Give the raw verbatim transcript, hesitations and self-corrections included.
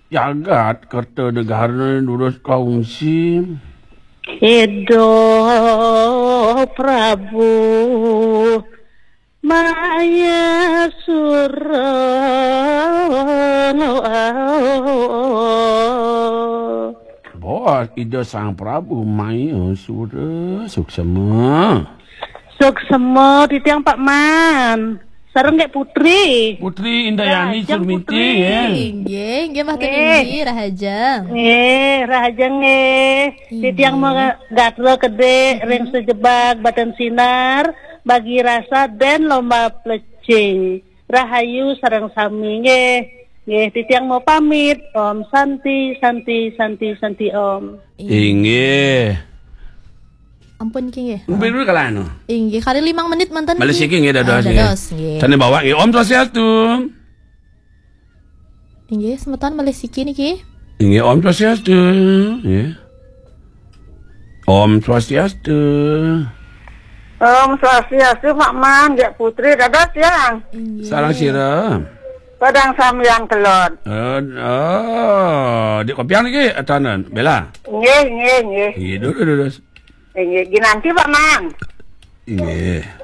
Jagat Kertanegara durus kongsi. Ida Prabu Maya Sura. Bos, Ida Sang Prabu Maya Sura, suksema. Suksema titiang Pak Man. Sareng Gék Putri. Putri Indayani Rahajeng Surminti, Putri. Ya. Inggih, inggih, Mbah Tun Inggih. Indi, rahajeng. Nggih, rahajeng nggih. Inggih. Titiang mau gatra kedé ring sejebag Batin Sinar, bagi rasa dan lomba plecing. Rahayu sareng sami nggih. Nggih, titiang mau pamit. Om Santi, Santi, Santi, Santi Om. Inggih. Ampun, Ki, nggih. Mungkin dulu kalau anu. Inggih, kali limang menit manten, Balik Ki. Siki nggih, dados, Ah, nggih. Dados, nggih. Tanda bawa nggih. Om Swastiastu. Inggih, semeton malih siki niki. Inggih, Om Swastiastu. Nggih. Om Swastiastu. Om Swastiastu, Pak Man, Gék Putri, dados, ya. Inggih. Sareng sira. Padang sambian kelod. Eh, oh, di kopian niki, atanan, Bella. Nggih, nggih, nggih. Nggih, dulu, dulu. Nggih, ginanti, Pak Man. Nggih.